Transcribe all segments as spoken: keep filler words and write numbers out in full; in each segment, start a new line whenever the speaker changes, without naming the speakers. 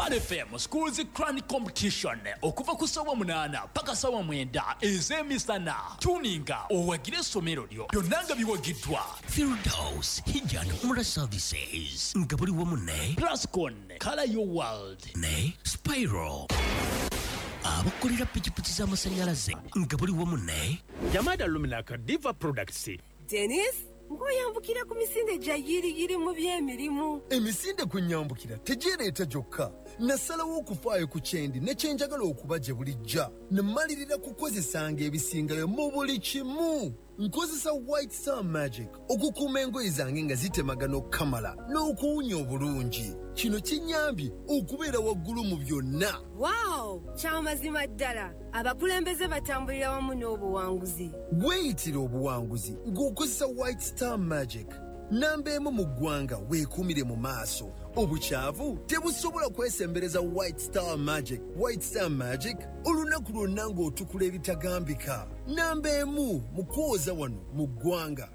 Pearl F M Schools Quran Competition, okuva ku ssaawa munaana paka ssaawa mwenda ez'emisana. Tuninga owagire essomero lyo. Byonna nga biwagiddwa
Firdaus Hijj and Umrah Services, nga buli wamu ne
Plascon Color Your World
ne Spiral, abakolera pikipiki z'amasannyalaze, nga buli wamu ne
Jamada Luminaka Diva Products.
Denis, ng'oyambukira ku misinde gya yiriyiri mu by'emirimu.
Emisinde kwe nyambukira tegyereeta gyokka. Nasalawo okufaayo ku kyendi ne kyenjagala okuba gye bulijja, ne mmalirira kukozesanga ebisingayo mu buli kimu. Nkozesa White Star Magic okukuuma engoye zange nga zitemagana okukamala n'okuwunya obulungi. Kino kinnyambye okubeera waggulu mu byonna.
Waawo, kyamazima ddala, abakulembeze batambulira wamu n'obuwanguzi.
Weeyitira obuwanguzi ng'okozesa White Star Magic. Namba emu mu ggwanga, weekuumire mu maaso. Obukyavu tebusobola kwesembereza White Star Magic. White Star Magic, olunaku lwonna ng'otukula ebitagambika. Namba emu mu kwoza wano mu ggwanga.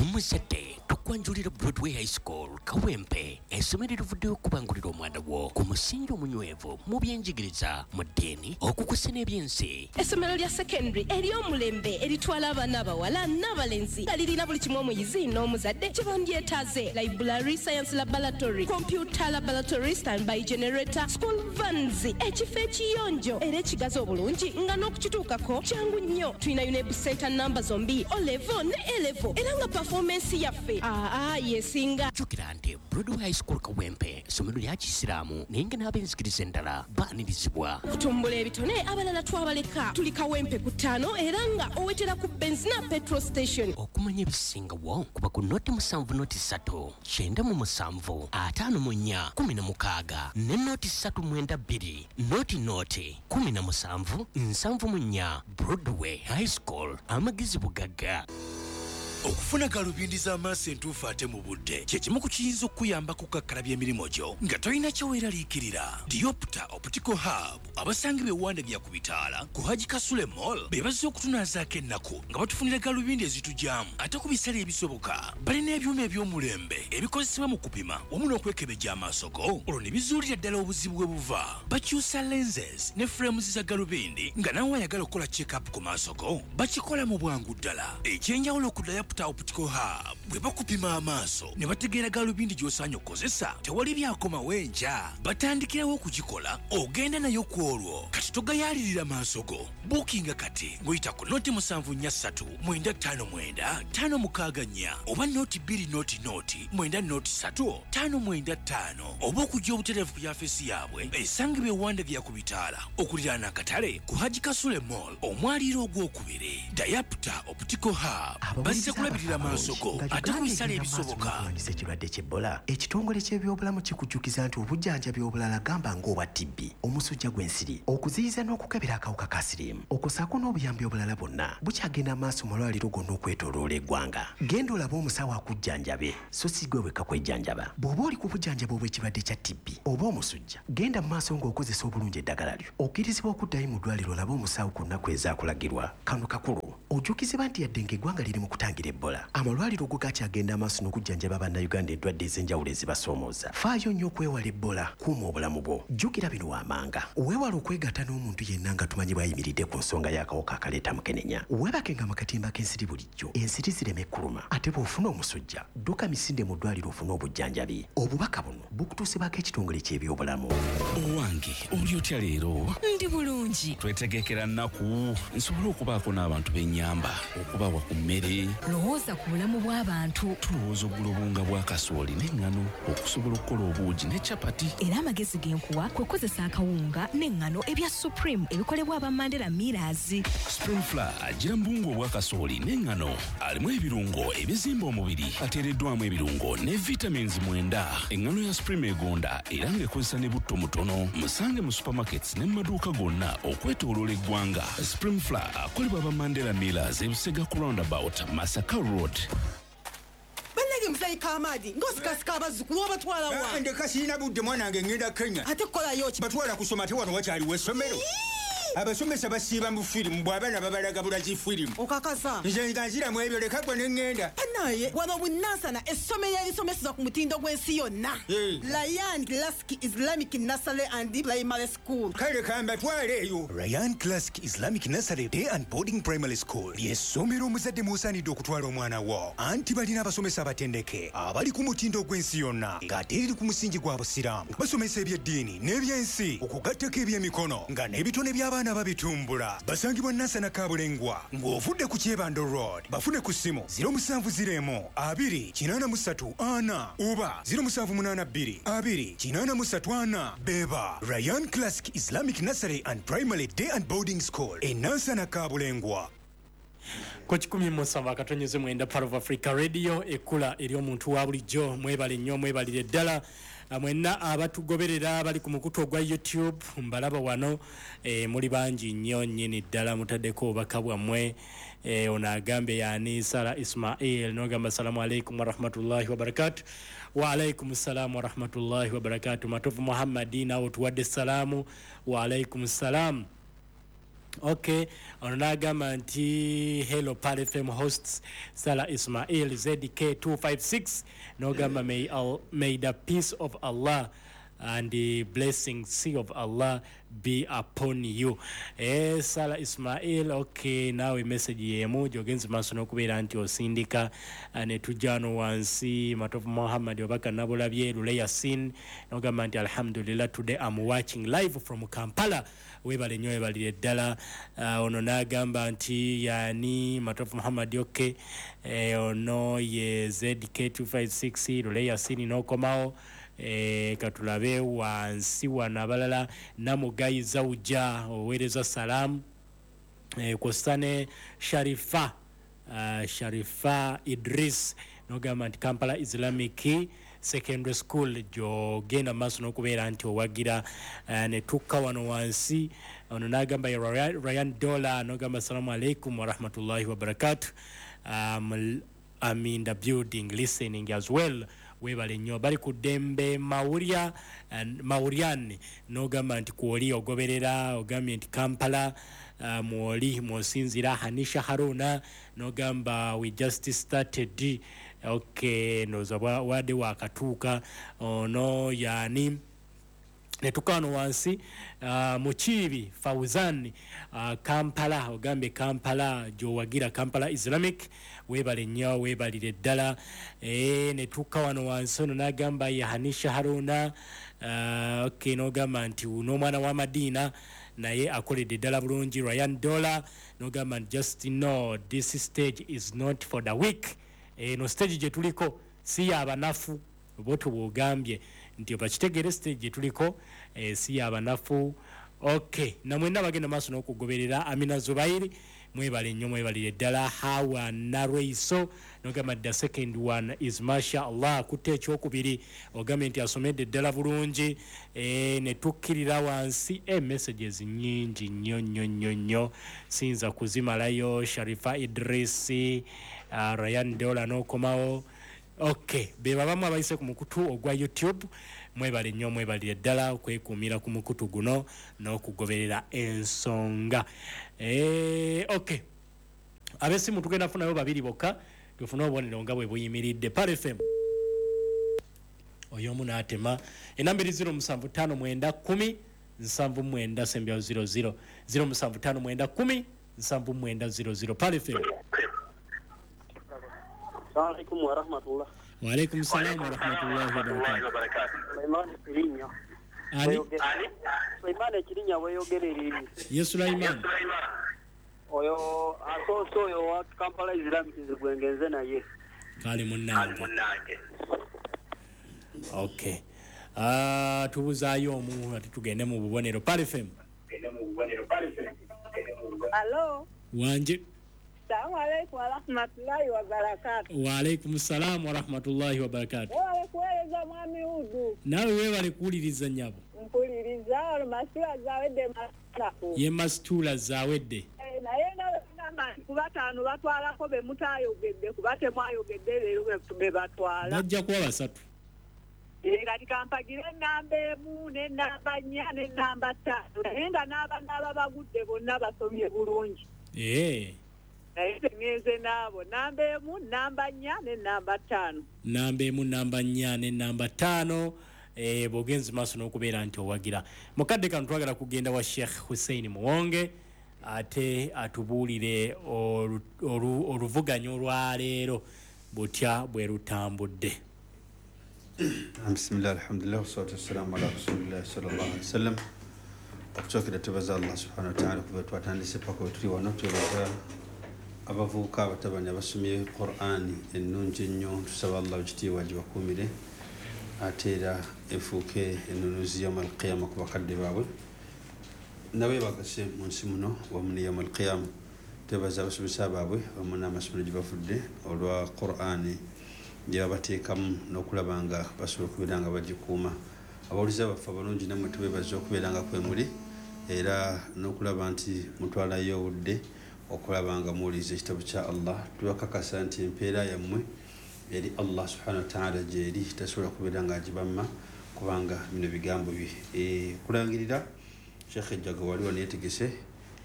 Omuzadde, tukwanjulira Broadway High School Kawempe, essomero erivuddeyo okubangulira omwana wo ku musingi omunywevu mu byenjigiriza, mu ddiini, okukusa n'ebyensi.
Essomero lya secondary ery'omulembe eritwala abaana abawala n'abalenzi, nga lirina buli kimu omuyizi n'omuzadde kye bandyetaaze: library, science laboratory, computer laboratory, standby generator, school vans, ekifo ekiyonjo era ekigazi obulungi nga n'okukituukako kyangu nnyo. Tulina UNEB center namba zombi, O level ne A level, era nga performance yaffe aa yesinga.
Jjukira nti Broadway High School Kawempe essomero lya kisiraamu, naye nga n'ab'enzikiriza endala baanirizibwa.
Kutumbula ebitone, abalala twabaleka. Tuli Kawempe ku ttaano, era nga owetera ku Benzina petrol station.
Okumanya ebisingawo, kuba ku noti musanvu noti ssatu kyenda mu musanvu ataano mu nnya kumi na mukaaga ne noti ssatu mwenda bbiri noti noti kumi na musanvu nsanvu mu nnya. Broadway High School, amagezi bugagga.
Okufuna galubindi z'amaaso entuufu ate mu budde kye kimu ku kiyinza okukuyamba kukakkalabya emirimu gyo nga tolina kyeweeraliikirira. Diopta Optical Hub, abasangibwa ewandagya ku bitaala ku Haji Kasule Mall, be bazze okutunaazaako ennaku nga batufunira galubindi ezitugyamu ate ku bisale ebisoboka. Balina ebyuma eby'omulembe ebikozesebwa mu kupima wamu n'okwekebejja amaaso go, olwo ne bizuulira ddala obuzibu bwe buva. Bakyusa lenses ne frames za galubindi, nga nawe ayagala okukola check-up ku maaso go bakikola mu bwangu ddala. Ekyenjawulo ku Diopta Optical Hub, bwe bakupima amaaso ne bategeera galubindi gy'osaanye okukozesa, tewali byakomawo enkya, batandikirawo okugikola, ogenda nayo ku olwo. Kati togayaalirira maaso go, buukinga kati ng'oyita ku noti musanvu nnya ssatu mwenda ttaano mwenda ttaano mukaaga nnya oba noti bbiri noti noti mwenda noti ssatu ttaano mwenda ttaano, oba okujja obutereevu ku yafeesi yaabwe esangibwa ewandagya ku bitaala okuliraana akatale ku Haji Kasule Mall, omwaliiro ogwokubiri. Diopta Optical Hub, bazze kulabirira maaso go ate ku bisale ebisoboka.
Okulwanyisa ekirwadde ky'Ebola, ekitongole ky'ebyobulamu kikujjukiza nti obujjanjabi obulala, gamba ng'obwa T B, omusujja gw'ensiri, okuziyiza n'okukebera akawuka ka siriimu, okussaako n'obuyambi obulala bwonna, bukyagenda maaso mu malwaliro gonna okwetooloola eggwanga. Genda olabe omusawo akujjanjabe, so si gwe wekka kwejjanjaba. Bw'oba oli ku bujjanjabi obw'ekirwadde kya T B oba omusujja, genda mu maaso ng'okozesa obulungi eddagala lyo. Okkirizibwa okuddayo mu ddwaliro olabe omusawo ku nnaku ezaakulagirwa. Kano kakulu ojjukizibwa nti yadde ng'eggwanga liri mu kutangira Ebola, amalwaliro go gakyagenda amaaso n'okujjanjaba Bannayuganda endwadde ez'enjawulo ezibasoomooza. Faayo nnyo okwewala Ebola, kuuma obulamu bwo. Jjukira bino waamanga: weewala okwegatta n'omuntu yenna nga tumanyi bw'ayimiridde ku nsonga y'akawuka akaleeta mukenenya. Weebakenga mu katimba k'ensiri bulijjo, ensiri zireme kuluma. Ate bw'ofuna omusujja, dduka misinde mu ddwaliro ofune obujjanjabi. Obubaka buno bukutuusibwako ekitongole ky'ebyobulamu.
Owange, oli otya leero?
Ndi bulungi.
Twetegekera nnaku nsobole okubaako n'abantu b'ennyamba, okubawa ku mmere.
Lowooza ku bulamu bw'abantu.
Tulowooza ogula obuwunga bwa kasooli n'eŋŋano okusobola okukola obuugi ne capati.
Era amagezi ge nkuwa kwe kukozesa akawunga n'eŋŋano ebya Supreme ebikolebwa aba Mandela Millers.
Supreme Flour agira mu buwunga obwa kasooli n'eŋŋano, alimu ebirungo ebizimba omubiri, ateereddwamu ebirungo ne vitamins mwenda. Eŋŋano ya Supreme egonda era ng'ekozesa ne butto mutono. Musange mu supermarkets ne mu maduuka gonna okwetooloola eggwanga. Supreme Flour akolebwa aba Mandela Millers, ebusega ku roundabout, Masaka Road.
Bannange, muzeeyi Kamaadi, ng'osikasika abazzukulu, obatwala wa?
Ndeka, sirina budde. Mwana wange, ngenda Kenya.
Ate kukolayo ki?
Batwala kusoma, ate wano wakyaliwo essomero. Abasomesa basiiba mu firimu, bw'abaana babalaga bulazi firimu.
Okakasa?
Nze nga nziramu ebyo, leka gwe ne ŋŋenda.
Naye wano Bunansana, essomero erisomeseza ku mutindo gw'ensi yonna, Ryan Classic Islamic Nursery and Primary School.
Kale kambatwale eyo.
Ryan Classic Islamic Nursery Day and Boarding Primary School ly'essomero omuzadde mw'osaanidde okutwala omwana wo, anti balina abasomesa abatendeke abali ku mutindo gw'ensi yonna, ng'ate eriri ku musingi gwa Busiraamu. Basomesa ebyeddiini n'ebyensi, okugattako ebyemikono, nga n'ebitone by'abaana babitumbula. Basangibwa Nansana Kabulengwa ng'ovudde ku Kyebando Road. Bafune ku ssimu zero musanvu zero abiri kinaana mu ssatu ana oba zero musanvu munaana bbiri abiri kinaana mu ssatu ana. Beba Ryan Classic Islamic Nursery and Primary Day and Boarding School e Nansana Kabulengwa.
Ku kikumi musanvu akatonyeze mwenda, Pearl of Africa Radio, ekkula eri omuntu wa bulijjo. Mwebale nnyo, mwebalire ddala mwenna abatugoberera bali ku mukutu ogwa YouTube. Mbalaba wano, e, muli bangi nnyo nnyini ddala, mutaddeko obubaka bwammwe. e, ono agambye yani Sara Ismail, nogamba assalamu alaikum warahmatullahi wabarakatu. Waalaikum salamu warahmatullahi wabarakatu. Matovu Muhammadi, nawe tuwadde salaamu, waalaikum salamu. Okay, ono n'agamba nti hello Pearl F M hosts, Sala Ismail Z K two five six. N'ogamba may, al, may the peace of Allah and the blessings of Allah be upon you. Eh, Sala Ismail, okay, naawe message yemu gyogenze maaso n'okubeera nti osindika. eh, ne tujja wano wansi, Matovu Muhammad obaka nabulabye. Lule Yasin n'ogamba nti alhamdulillah, today I'm watching live from Kampala. Webale nnyo, webalire ddala. uh, ono n'agamba nti yani Matovu Muhammad, okay, eh, ono ye Z K two five six Lule Yasin n'okomawo. eh, katulabe wansi wano abalala. Namugayi Zauja oweereza salaamu, eh, kwossa ne Sharifa, uh, Sharifa Idris, nogamba nti Kampala Islamic Secondary School gyogenda maaso n'okubeera nti owagira. uh, ne tukka wano wansi, ono n'agamba ye Ryan, Ryan Dollar, nogamba assalamu alaikum warahmatullahi wabarakatu, um, I'm in the building listening as well. Webale nnyo. Bali ku ddembe Mawurya Mawuryan, n'ogamba nti kwoli ogoberera, ogambye nti Kampala uh, mwoli mwosinzira. Hanisha Haruna n'ogamba we just started. Okay, ndowooza wadde wakatuuka. Ono yani netuka wano wansi, uh, Mukiibi Fauzan, uh, Kampala, ogambye Kampala gyowagira, Kampala Islamic. Weebale nnyo, weebalire ddala. e, netuka wano wansi, ono n'agamba ye Hanisha Haruna. uh, okay, n'ogamba nti n'omwana wa Madiina naye akoledde ddala bulungi. Ryan Dollar n'ogamba nti just know this stage is not for the weak. Eno stage gye tuliko si yabanafu, bwotyo bwogambye nti bakitegeere, stage gye tuliko eh, si yabanafu. Okay, namwenna bagenda maaso n'okugoberera. Amina Zubairi, mwebale nnyo, mwebalire ddala. Hawa Narweiso nogamba the second one is masha Allah, kutte ekyokubiri, ogambye nti asomedde ddala bulungi. e, ne tukkirira wansi, e, messages nyingi nnyo nnyo nnyo nnyo, siyinza kuzimalayo. Sharifa Idrisi, uh, Ryan Dola n'okomawo. Okay, be babamu abayise ku mukutu ogwa YouTube. Mwebale nnyo, mwebalire ddala okwekuumira ku mukutu guno n'okugoberera ensonga. e, okay ab'essimu tugenda funayo babiri bokka, tufune obubonero nga bwe buyimiridde. Pearl F M, oyo omu n'atema. Enamba eri zero musanvu ttaano mwenda kumi nsanvu mwenda sembyawo zero zero, zero musanvu ttaano mwenda kumi nsanvu mwenda zero zero. Pearl F M.
Assalamu warahmatullah.
Waalaikum salam warahmatullahi wabarakatuh.
Sulaiman Kirinya.
Ani?
Sulaiman Kirinya, weyogerera.
Ye Sulaiman.
Oyo asoose, oyo wa Kampala Islamic gwengenze naye.
Kale munnange. Okay. Ah, tubuzaayo omu ate tugende mu bubonero. Pearl F M.
Alo.
Wanje.
Assalamu alaikum warahmatullahi wabarakatuh.
Waalaikum salam warahmatullahi wabarakatuh.
Webale kuweereza, mwami Udu.
Naawe weebale kuwuliriza, nnyabo.
Mpuliriza olwo Masitula Zawedde Masanafu.
Ye Masitula Zawedde.
Eh, naye nga bwe ku bataano batwalako be mutaayogedde, kuba temwayogedde leero be batwala.
Bajja kuba basatu.
Era Kati kampagire ennamba emu n'ennamba nnya n'ennamba ttaano, naye nga n'abaana bagudde bonna basomye bulungi.
Eh.
Naye ngenze naabo namba emu, namba nnya n'ennamba ttaano.
Namba emu, namba nnya n'ennamba ttaano. Eh, bw'ogenze maaso n'okubeera nti owagira. Mukadde kano twagala kugenda wa Sheikh Hussein Muwonge ate atubuulire oluvuganya olwaleero butya bwe lutambudde.
Bismillah, alhamdulillah, wassalatu wassalamu ala rasulillah sallallahu alaihi wasallam. Okusookera twebaza Allah subhanahu wa ta'ala kuba twatandise paka wetuli wano. Twebaza abavubuka abatabani abasomye Qur'ani ennungi ennyo, tusaba Allah ekitiibwa gibakuumire ate era efuuke ennunuzi yawma alqiyama ku bakadde baabwe nabo bagase mu nsi muno wamu ne yawma alqiyama. Twebaza abasomesa baabwe wamu n'amasomero gye bavudde olwa Qur'ani gye babateekamu n'okulaba nga basobola okubeera nga bagikuuma. Abawuliza baffe abalungi nammwe tubeebaza okubeera nga kwe muli era n'okulaba nti mutwalayo obudde okulaba nga muwuliriza ekitabo kya Allah. Tubakakasa nti empeera yammwe eri Allah subhanahu wa ta'ala gyeri tasobola kubeera nga agibamma kubanga bino bigambo bye. E, kulangirira Sheikh Ejjago wali wano yeetegese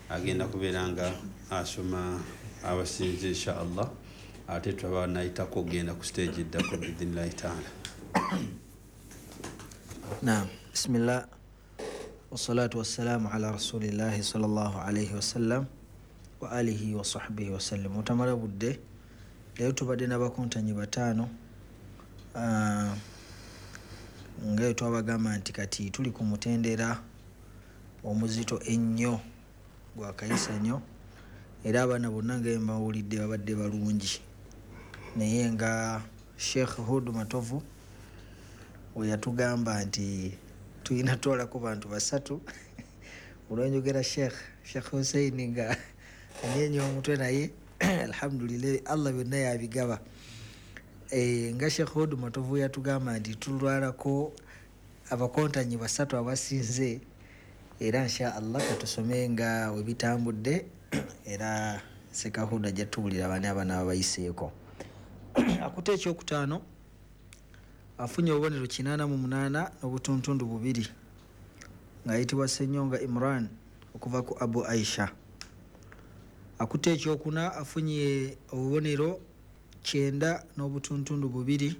agenda kubeera nga asoma abasinze insha Allah, ate twaba nayitako okugenda ku stage eddako biidhnillahi ta'ala.
Naam, bismillah wassalatu wassalamu ala rasulillahi sallallahu alayhi wasallam wa alihi wa sahbihi wasallam. Otamala budde leero tubadde n'abakontanyi bataano, uh, nga twabagamba nti kati tuli ku mutendera omuzito ennyo gwa kayisa nnyo, era abaana bonna nga mbawulidde babadde balungi, naye nga Sheikh Hud Matovu we yatugamba nti tulina twalako bantu basatu. Olwenjogera Sheikh Sheikh Hussein nga anyenye omutwe, naye alhamdulillah Allah byonna yabigaba. E, nga Sheikh Hud Matovu yatugamba nti tulwalako abakontanyi basatu abasinze, era insha Allah katusome nga we bitambudde, era Sekahuda ajja tuwulira bani abaana abayiseeko. Akutte ekyokutaano afunye obubonero kinaana mu munaana n'obutuntundu bubiri ng'ayitibwa Ssenyonga Imran okuva ku Abu Aisha. Akutte ekyokuna afunye obubonero kyenda n'obutuntundu bubiri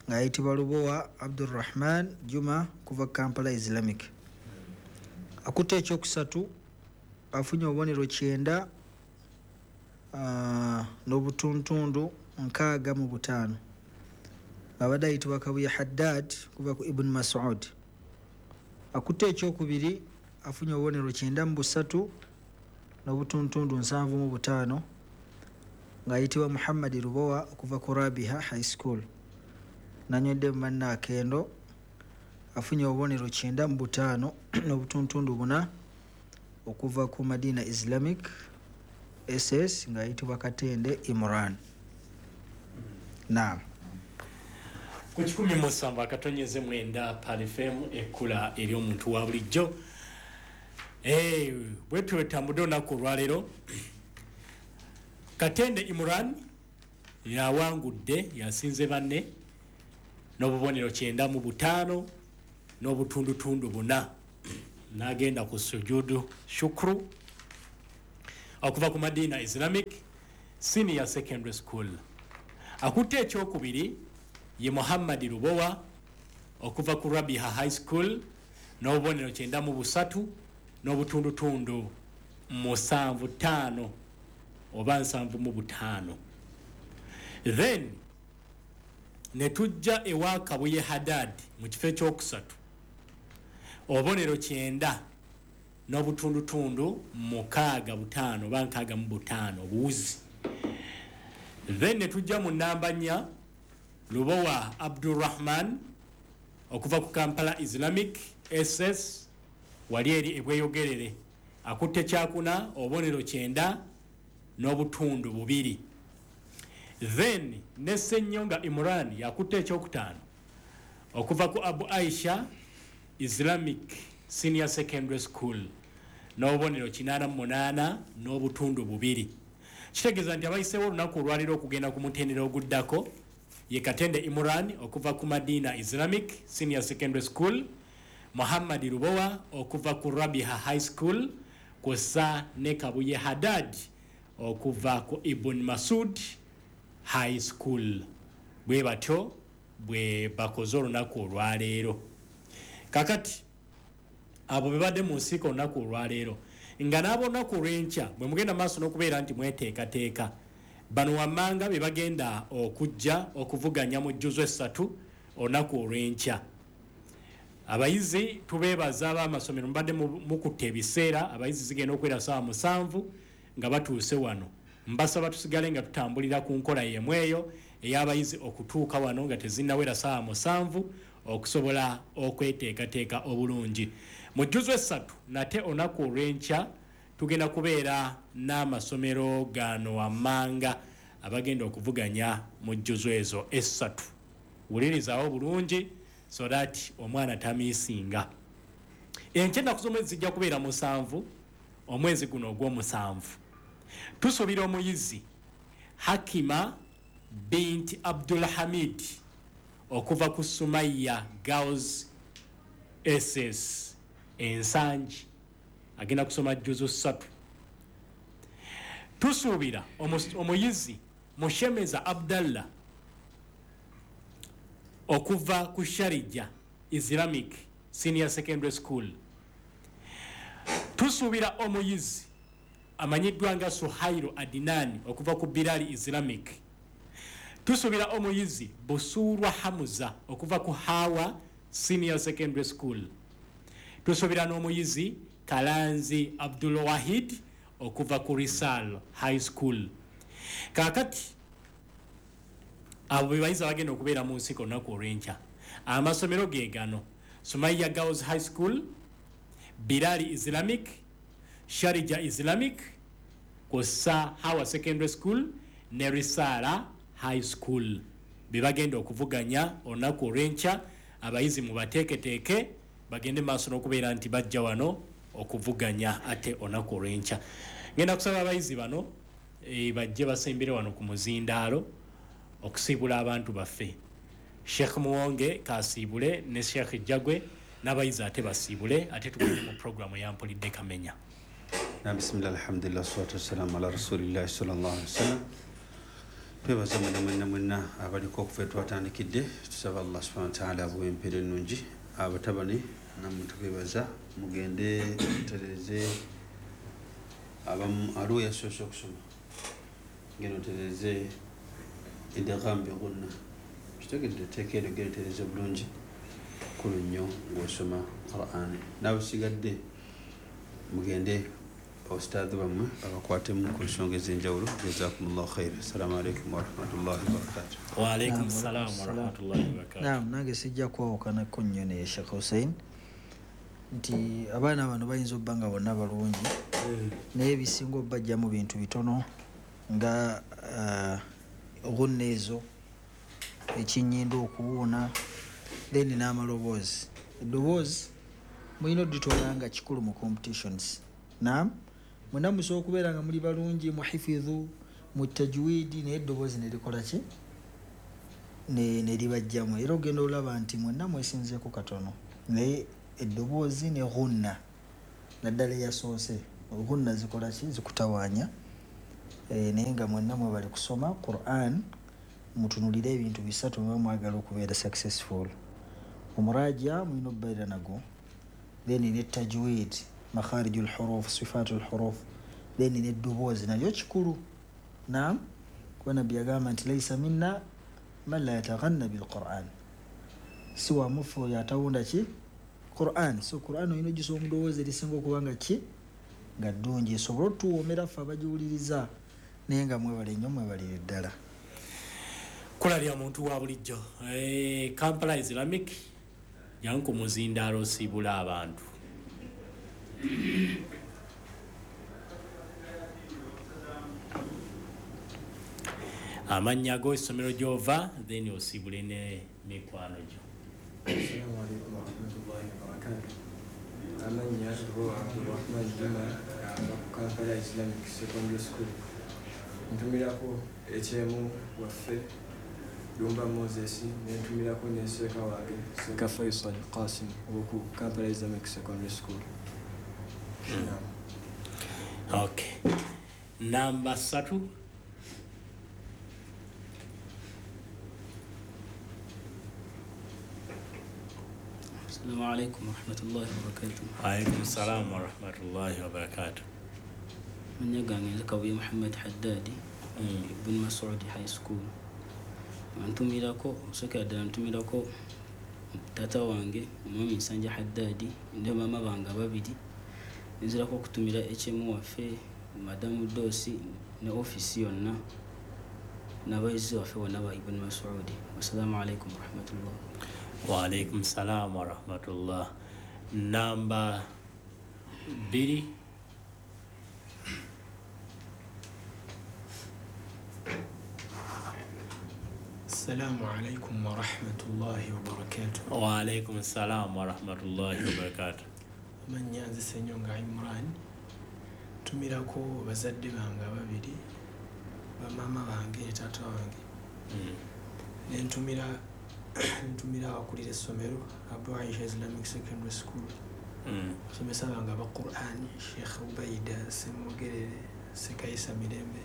ng'ayitibwa Lubowa Abdurrahman Juma kuva Kampala Islamic. Akutte ekyokusatu afunye obubonero kyenda uh, n'obutuntundu nkaaga mu butaano abadde ayitibwa Kabuye Haddad kuva ku Ibn Mas'ud. Akutte ekyokubiri afunye obubonero kyenda mu busatu n'obutuntundu nsanvu mu butaano ng'ayitibwa Muhammad Lubowa okuva ku Rabiha High School. Nanywedde mu banne akendo afunye obubonero kyenda mu butaano n'obutuntundu buna okuva ku Madina Islamic S S ng'ayitibwa Katende Imran. Naam.
Ku kikumi musanvu akatonyeze mwenda Pearl F M ekkula eri omuntu wa bulijjo. Eh, bwe twetambudde olunaku olwaleero, Katende Imran yawangudde, yasinze banne n'obubonero kyenda mu butaano n'obutundutundu buna, n'agenda ku sujudu shukru okuva ku Madina Islamic Senior Secondary School. Akutte ekyokubiri ye Muhammad Lubowa okuva ku Rabiha High School n'obubonero kyenda mu busatu n'obutundutundu musanvu ttaano oba nsanvu mu butaano. Then ne tujja ewa Kabuye Haddad mu kifo ekyokusatu obubonero kyenda n'obutundutundu mukaaga butaano oba nkaaga mu butaano obuwuzi. Then ne tujja mu namba nnya Lubowa Abdurrahman okuva ku Kampala Islamic S S wali eri ebweyogerere, akutte kyakuna obubonero kyenda n'obutundu bubiri. Then ne Ssenyonga Imran yakutte ekyokutaano okuva ku Abu Aisha Islamic Senior Secondary School n'obubonero kinaana mu munaana n'obutundu bubiri. Kitegeeza nti abayiseewo olunaku olwaleero okugenda ku mutendera oguddako Ye Katende Imran okuva ku Madina Islamic Senior Secondary School, Muhammad Rubowa okuva ku Rabiha High School, kw'ossa ne Kabuye Haddad okuva ku Ibn Masud High School. Bwe batyo bwe bakoze olunaku olwaleero. Kakati abo bebadde mu nsiiko olunaku olwaleero, nga n'ab'olunaku olw'enkya bwe mugenda maaso n'okubeera nti mweteekateeka, bano wammanga be bagenda okujja okuvuganya mu jjuzo essatu olunaku olw'enkya. Abayizi tubeebaza ab'amasomero mubadde mukutte ebiseera, abayizi zigenda okuwera ssaawa musanvu nga batuuse wano. Mbasaba tusigale nga tutambulira ku nkola y'emu eyo ey'abayizi okutuuka wano nga tezinnawera ssaawa musanvu okusobola okweteekateeka obulungi. Mu jjuzo essatu nate olunaku olw'enkya tugenda kubeera n'amasomero gano wammanga abagenda okuvuganya mu jjuzo ezo essatu. Wulirizaawo bulungi so that omwana tamiisinga. Enkya ennaku z'omwezi zijja kubeera musanvu, omwezi guno ogw'omusanvu. Tusuubira omuyizi Hakima binti Abdul Hamid okuva ku Sumaya Girls S S Ensangi agenda kusoma jjuzo ssatu. Tusuubira omuyizi Mushemeza Abdallah okuva ku Sharija Islamic Senior Secondary School. Tusuubira omuyizi amanyiddwa nga Suhairo Adinani okuva ku Bilali Islamic. Tusuubira omuyizi Busurwa Hamuza okuva ku Hawa Senior Secondary School. Tusuubira n'omuyizi Kalanzi Abdul Wahid okuva ku Risal High School. Kaakati abo be bayizi abagenda okubeera mu nsiiko olunaku olw'enkya. Amasomero ge gano: Sumaya Girls High School, Bilali Islamic, Sharija Islamic, kw'ossa Hawa Secondary School ne Risala High School. Be bagenda okuvuganya olunaku olw'enkya. Abayizi mubateeketeeke bagende maaso n'okubeera nti bajja wano okuvuganya ate olunaku olw'enkya. Ngenda kusaba abayizi bano e, bajje basembere wano ku muzindaalo okusiibula abantu baffe. Sheikh Muwonge kasiibule ne Sheikh Jagwe n'abayizi ate basiibule, ate tugende mu programu ya Mpulidde Kamenya.
Na bismillah, alhamdulillah, salatu wassalamu ala rasulillah sallallahu alaihi wasallam. Twebaza mwenna mwenna mwenna abaliko okufa twatandikidde, tusaba Allah subhanahu wa ta'ala abuwe empeera ennungi. Abatabani nammwe tubeebaza, mugende mutereeze abamu aliwo yasoose okusoma, genda otereeze idgham bi ghunna, kitegedde etteeka eryo, genda otereeze bulungi kulu nnyo ng'osoma Qur'ani. N'abasigadde mugende ustaadhi bammwe babakwatemu ku nsonga ez'enjawulo. Jazakumullahu khair. Assalamu alaikum warahmatullahi wabarakatuh.
Wa alaikum salam warahmatullahi wabarakatuh.
Naam, nange sijja kwawukanako nnyo ne Sheikh Hussein nti abaana bano bayinza obba nga bonna balungi, naye ebisinga obbajja mu bintu bitono nga ghunna ezo, ekinyindo okuwuuna, then n'amaloboozi. Eddoboozi mulina odditwala nga kikulu mu competitions. Naam, mwenna musobola okubeera nga muli balungi mu hifidhu, mu tajwidi, naye eddoboozi ne likola ki? Ne ne libajjamu. Era ogenda olaba nti mwenna mwesinzeeko katono, naye eddoboozi ne ghunna naddala eyasoose, ghunna zikola ki? Zikutawaanya. E, naye nga mwenna mwebali kusoma Qur'an, mutunulire ebintu bisatu muba mwagala okubeera successful. Omuraja mulina okubeera nagwo, then ne tajwid, makharijul huruf, sifatul huruf, then n'eddoboozi nalyo kikulu. Naam, kuba Nabbi yagamba nti laisa minna man la yataghanna bil Qur'an, si wa mufu oyo atawunda ki Qur'an. So Qur'an olina ogisoma mu ddoboozi erisinga okuba nga ki nga ddungi, esobole otuwoomera ffe abagiwuliriza. Naye nga mwebale nnyo, mwebalire ddala.
Kkula lya muntu wa bulijjo. E, Kampala Islamic jangu ku muzindaalo osiibula abantu. Amannya go, essomero gy'ova, then osiibule ne mikwano gyo.
Assalamu alaikum warahmatullahi wabarakatuh. Amannya Lubowa Abdurrahman Juma, ava ku Kampala Islamic Secondary School. Ntumirako ekyemu waffe Dumba Moses, nentumirako ne Seeka wange Seeka Faisal Qasim oku Kampala Islamic Secondary School.
Mm. Okay. Namba ssatu.
Assalamu alaikum warahmatullahi wabarakatuh.
Wa alaikum salam warahmatullahi wabarakatuh.
Mannya gange nze Kabuye Muhammad Haddadi, mm. Ibn Mas'ud High School. Ntumirako, osookera ddala ntumirako taata wange omwami Nsanja Haddadi ne maama bange ababiri. Nzirako okutumira H M waffe Madamu Dosi ne ofiisi yonna n'abayizi baffe bonna ba Ibn Mas'ud. Wassalamu alaikum warahmatullah.
Wa alaikum salam wa rahmatullah. Namba bbiri.
Assalamu alaikum wa rahmatullahi wa barakatuh.
Wa alaikum salam wa rahmatullahi wa barakatuh.
Amannya nze Ssenyonga Imran. Ntumirako bazadde bange ababiri, bamaama bange ne taata wange.
Mm.
Nentumira ntumira abakulira essomero Abu Aisha Islamic Secondary School.
Mm.
Abasomesa bange aba Qur'an, Sheikh Ubaida Ssemogerere, Sekaisa Mirembe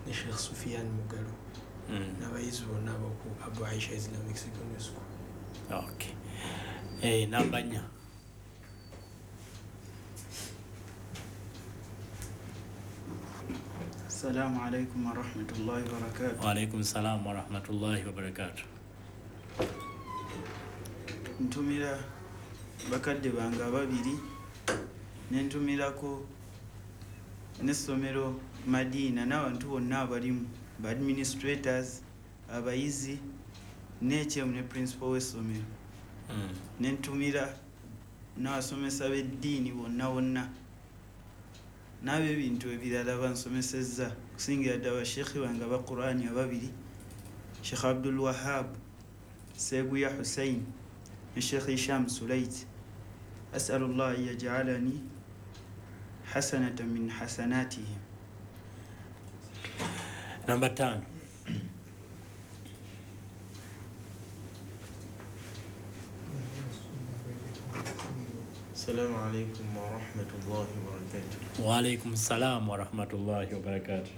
ne Sheikh Sufian Mugalu.
Mm.
N'abayizi bonna ab'oku Abu Aisha Islamic Secondary School.
Okay. Eh, namba nnya.
Assalamu alaikum warahmatullahi wabarakatuh.
Wa alaikum salam warahmatullahi wabarakatuh.
Ntumira bakadde bange ababiri, nentumirako n'essomero Madina n'abantu bonna abalimu, ba administrators, abayizi, ne H M ne principal w'essomero.
Mm.
Nentumira n'abasomesa b'eddiini bonna bonna n'ab'ebintu ebirala bansomesezza, kusingira ddala basheikh bange aba Qur'ani ababiri, Sheikh Abdul Wahab Seguya Hussein ne Sheikh Hisham Sulait. As'alullah an yaj'alani hasanatan min hasanatihim.
Namba tano.
Assalamu alaikum warahmatullahi wabarakatuh.
Wa alaikum salam warahmatullahi wabarakatuh.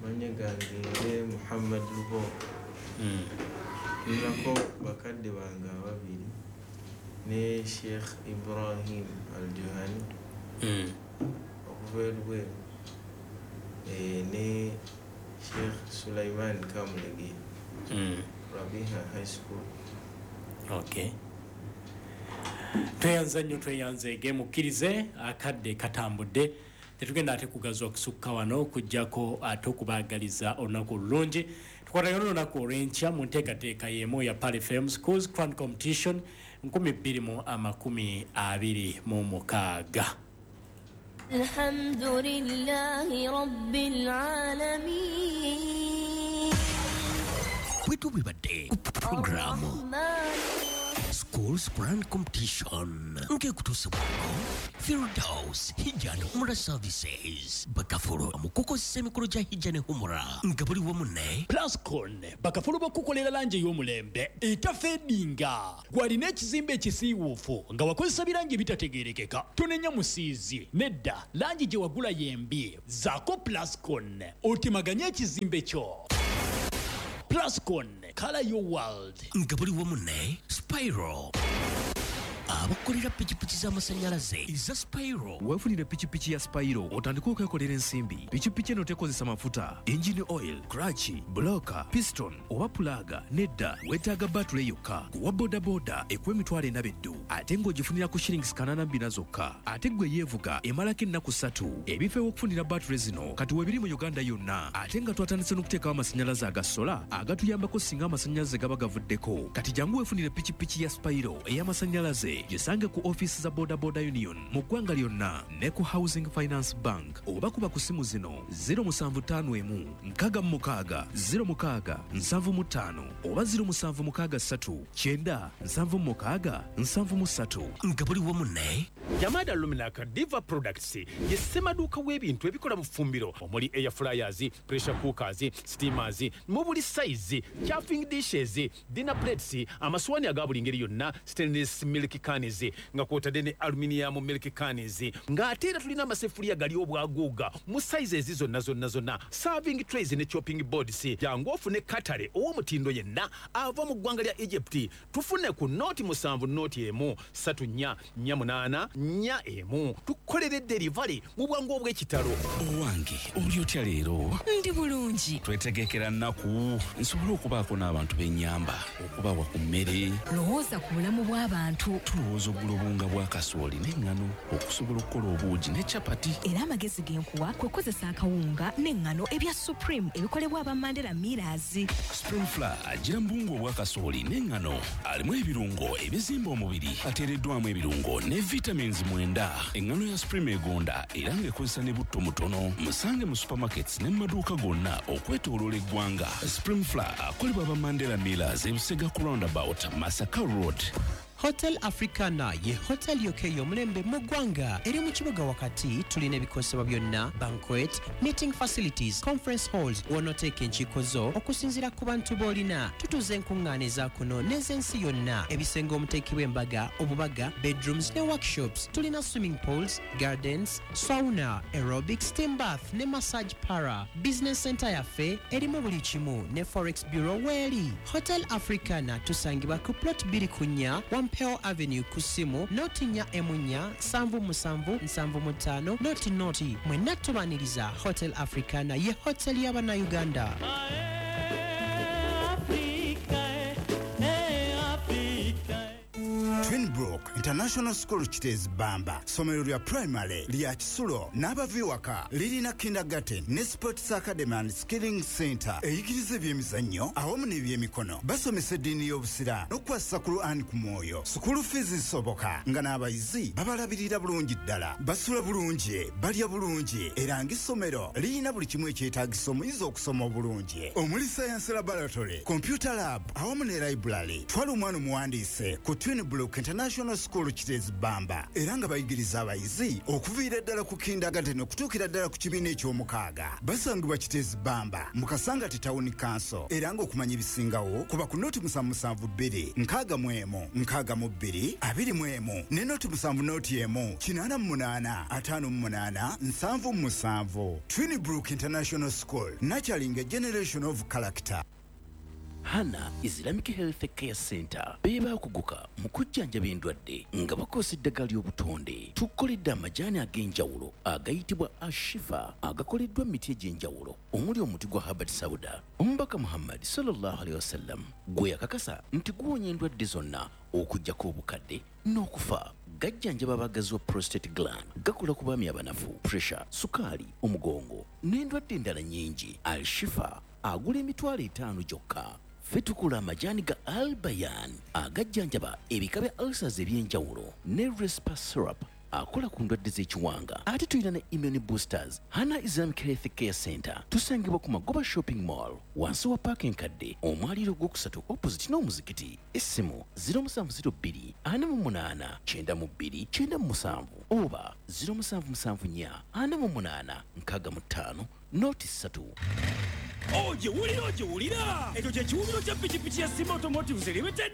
Mannya gange nze Muhammad Lubo.
Mm.
Ntumirako bakadde bange ababiri ne Sheikh Ibrahim Al-Juhani
mm.
okuva e Luweero, eh, ne Sheikh Sulaiman Kamulege
mm.
Rabiha High School.
Okay. Tweyanza nnyo, tweyanzeege, mukkirize akadde katambudde, tetugenda ate kugazwa kusukka wano okuggyako ate okubaagaliza olunaku olulungi. Tukwatagana olunaku olw'enkya mu nteekateeka y'emu ya Pearl F M Schools Quran Competition nkumi bbiri mu amakumi abiri mu mukaaga.
Alhamdulillahi rabbil alamin.
Bwe tubibadde ku programu Schools Quran Competition ng'ekutuusibwako Firdaus Hijja and Umrah Services, bakafulu mu kukozesa emikolo gya Hijja ne Umrah nga buli wamu ne
Plascon, bakafulu b'okukolera langi ey'omulembe etafeedinga. Gw'alina ekizimbe ekisiiwuufu nga wakozesa birangi ebitategeerekeka, tonenya musiizi nedda, langi gye wagula y'embi. Zaako Plascon otemaganye ekizimbe kyo. Plascon, color your world.
Nga buli wamu ne Spiral, abakolera pikipiki z'amasannyalaze eza Spiro.
Weefunire pikipiki ya Spiro otandike okwekolera ensimbi. Pikipiki eno tekozesa mafuta, engine oil, clutch, bloka, piston oba pulaga. Nedda, weetaaga batule yokka. Kuwa bodaboda ekuwa emitwalo ena beddu, ate ng'ogifunira ku shillings kanaana bbina zokka. Ate ggwe yeevuga emalako ennaku ssatu. Ebifo ew'okufunira batule zino kati weebiri mu Uganda yonna, ate nga twatandise n'okuteekawo amasannyalaze aga sola agatuyambako singa amasannyalaze gaba gavuddeko. Kati jangu weefunire pikipiki ya Spiro ey'amasannyalaze
y'omulembe. Gisange ku ofiisi za Boda Boda Union mu ggwanga lyonna ne ku Housing Finance Bank oba kuba ku simu zino zero musanvu ttaano emu nkaaga mu mukaaga zero mukaaga nsanvu mu ttaano oba zero musanvu mukaaga ssatu kyenda nsanvu mu mukaaga nsanvu mu ssatu.
Nga buli wamu ne
Jamada Luminaka Diva Products ye ssemaduuka w'ebintu ebikola mu ffumbiro omuli air fryers, pressure cookers, steamers, mu buli size, chafing dishes, dinner plates, amaswani aga buli ngeri yonna, stainless milk cans nga kwotadde ne aluminium milk cans, ng'ate era tulina amaseffuliya gali obwaguuga mu sizes zonna zonna zonna, serving trays ne chopping boards. Jangu ofune katale ow'omutindo yenna ava mu ggwanga lya Egypt. Tufune ku noti musanvu noti emu ssatu nnya nnya munaana nnya emu, tukolere delivery mu bwangu obw'ekitalo.
Owange oli otya leero?
Ndi bulungi.
Twetegekera nnaku nsobole okubaako n'abantu b'ennyamba okubawa ku mmere.
Lowooza ku bulamu bw'abantu.
Tulowooza ogula obuwunga bwa kasooli n'eŋŋano okusobola okukola obuugi ne capati.
Era amagezi ge nkuwa kwe kukozesa akawunga n'eŋŋano ebya Supreme ebikolebwa aba Mandela Millers.
Supreme Flour agira mu buwunga obwa kasooli n'eŋŋano, alimu ebirungo ebizimba omubiri, ateereddwamu ebirungo ne vitamins mwenda. Eŋŋano ya Supreme egonda era ng'ekozesa ne butto mutono. Musange mu supermarkets ne mu maduuka gonna okwetooloola eggwanga. Supreme Flour akolebwa aba Mandela Millers, Ebusega ku roundabout, Masaka Road.
Hotel Africana ye hotel yokka ey'omulembe mu ggwanga eri mu kibuga wakati. Tulina ebikozesebwa byonna, banquet, meeting facilities, conference halls, w'onooteeka enkiiko zo okusinziira ku bantu b'olina. Tutuuza enkuŋŋaana eza kuno n'ez'ensi yonna, ebisenge omuteekebwa embaga, obubaga, bedrooms ne workshops. Tulina swimming pools, gardens, sauna, aerobic, steam bath ne massage para. Business center yaffe erimu buli kimu ne forex bureau weeri. Hotel Africana tusangibwa ku plot bbiri ku nnya Wampeo Avenue ku ssimu noti nnya emu nnya nsanvu musanvu nsanvu mu ttaano noti noti. Mwenna tubaaniriza. Hotel Africana ye hotel y'Abannayuganda.
Twinbrook International School Kiteezi Bamba, ssomero lya primary lya kisulo n'abava ewaka, lirina kindergarten ne sports academy and skilling center eyigiriza ebyemizannyo awamu n'ebyemikono. Basomesa eddiini y'obusiraamu n'okukwasisa Quran ku mwoyo. Sukulu fees zisoboka nga n'abayizi babalabirira bulungi ddala, basula bulungi, balya bulungi, era ng'essomero lirina buli kimu ekyetaagisa omuyizi okusoma obulungi, omuli science laboratory, computer lab awamu ne library. Twala omwana omuwandiise ku Twinbrook International School Kiteezi Bamba, era nga bayigiriza abayizi okuviira ddala ku kindergarten okutuukira ddala ku kibiina eky'omukaaga. Basangibwa Kiteezi Bamba mu Kasangati Town Council, era ng'okumanya ebisingawo kuba ku noti musanvu musanvu bbiri nkaaga mu emu nkaaga mu bbiri abiri mu emu ne noti musanvu noti emu kinaana mu munaana ataano mu munaana nsanvu mu musanvu. Twinbrook International School, nurturing a generation of character.
Hana Islamic Health Care Center be bakuguka mu kujjanjaba endwadde nga bakozesa eddagala ly'obutonde. Tukoledde amajaani ag'enjawulo agayitibwa Ashifa agakoleddwa mu miti egy'enjawulo omuli omuti gwa Habbat Sauda. Omubaka Muhammad sallallahu alaihi wasallam gwe yakakasa nti guwonya endwadde zonna okuggyako obukadde n'okufa. Gajjanjaba abagazi wa prostate gland, gakola ku baami abanafu, pressure, sukaali, omugongo n'endwadde endala nnyingi. Al-Shifa agula emitwalo etaano gyokka. Ffe tukola amajaani ga Albayan agajjanjaba ebika bya ulcers eby'enjawulo ne Respa syrup akola ku ndwadde z'ekiwanga. Ate tulina ne immune boosters. Hana Islamic Health Care Center tusangibwa ku Magoba Shopping Mall wansi wa paaka enkadde, omwaliiro ogwokusatu opposite n'omuzikiti. Essimu zero musanvu zero bbiri ana mu munaana kyenda mu bbiri kyenda mu musanvu oba zero musanvu musanvu nnya ana mu munaana nkaaga mu ttaano noti ssatu.
Ogiwulira ogiwulira ekyo kye kiwubiro kya pikipiki ya Simba Automotives Limited,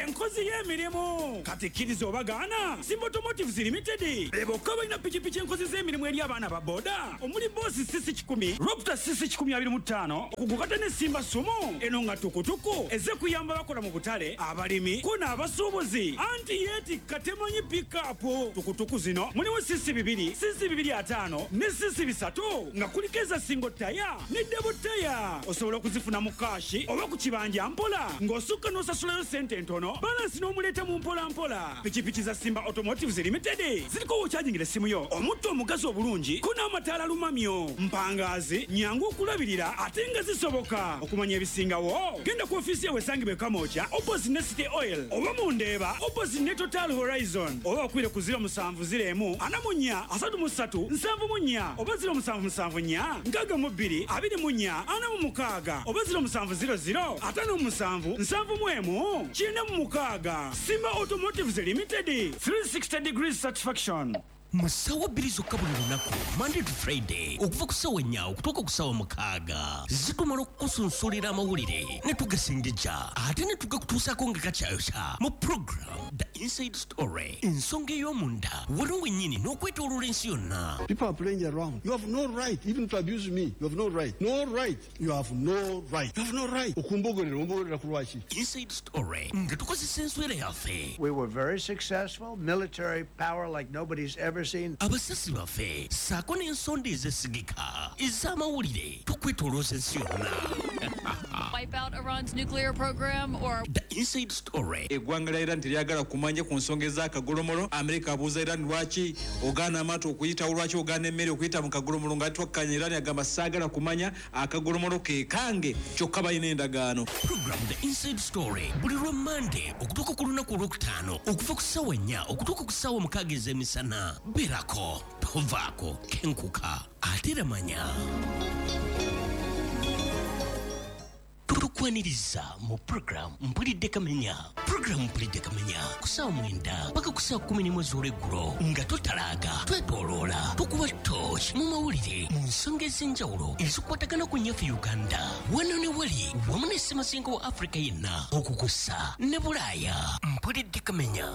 enkozi y'emirimu. Kati kkiriza obagaana, Simba Automotives Limited be bokka balina pikipiki enkozi z'emirimu eri abaana ba boda omuli Boss C C kikumi, Raptor C C kikumi abiri mu ttaano, okugukata ne Simba Sumo eno nga tukutuku ezze kuyamba bakola mu butale, abalimi ko n'abasuubuzi. Anti yeetikka temanyi pikapu. Tukutuku zino mulimu C C bibiri, C C bibiri ataano ne C C bisatu nga kuliko eza single taya ne double taya. Uganda. Osobola okuzifuna mu kashi oba ku kibanja mpola ng'osukka n'osasulayo ssente entono, balansi n'omuleeta mu mpola mpola. Pikipiki za Simba Automotives Limited ziriko w'okyajingira essimu yo, omutto omugazi obulungi ko n'amataala lumamyo, mpangazi, nyangu okulabirira ate nga zisoboka. Okumanya ebisingawo genda ku ofiisi yawe esangibwa e Kamwokya opposite ne City Oil oba mu Ndeeba opposite ne Total Horizon, oba okubire ku ziro musanvu ziro emu ana mu nnya asatu mu ssatu nsanvu mu nnya oba ziro musanvu musanvu nnya nkaaga mu bbiri abiri mu nnya ana mu mukaaga oba ziro musanvu ziro ziro ataano mu musanvu nsanvu mu emu kyenda mu mukaaga. Simba Automotives Limited, three sixty degrees satisfaction.
Mu ssaawa bbiri zokka buli lunaku, Monday to Friday, okuva ku ssaawa nnya okutuuka ku ssaawa mukaaga, zitumala okukusunsulira amawulire ne tugasengejja ate ne tugakutuusaako nga gakyayokya mu program The Inside Story, ensonga ey'omunda wano wennyini n'okwetooloola ensi yonna.
People are playing around. You have no right even to abuse me. You have no right. No right. You have no right. You have no right. Okumbogerera, ombogerera ku lwaki?
Inside Story nga tukozesa enswera yaffe.
We were very successful, military power like nobody's ever seen.
Abasasi baffe ssaako n'ensonda ezesigika ez'amawulire tukwetoolooza ensi yonna.
Wipe out Iran's nuclear program or
The Inside Story.
Eggwanga lya Iran teryagala kumanya ku nsonga ez'akagolomolo. Amerika abuuza Iran lwaki ogaana amaato okuyitawo, lwaki ogaana emmere okuyita mu kagolomolo, nga twakkanya. Iran agamba saagala kumanya, akagolomolo ke kange, kyokka balina endagaano.
Program The Inside Story buli lwa Monday okutuuka ku lunaku olwokutaano okuva ku ssaawa nnya okutuuka ku ssaawa mukaaga ez'emisana. Beerako, tovaako, kenkuka ate era manya. Tukwaniriza mu program Mpulidde Kamenya. Program Mpulidde Kamenya ku ssaawa mwenda paka ku ssaawa kkumi n'emu ez'olweggulo nga totalaaga, twetooloola, tukuba torch mu mawulire mu nsonga ez'enjawulo ezikwatagana ku nnyaffe Uganda wano ne wali wamu ne ssemazinga wa Afrika yenna okukussa ne Bulaaya. Mpulidde Kamenya.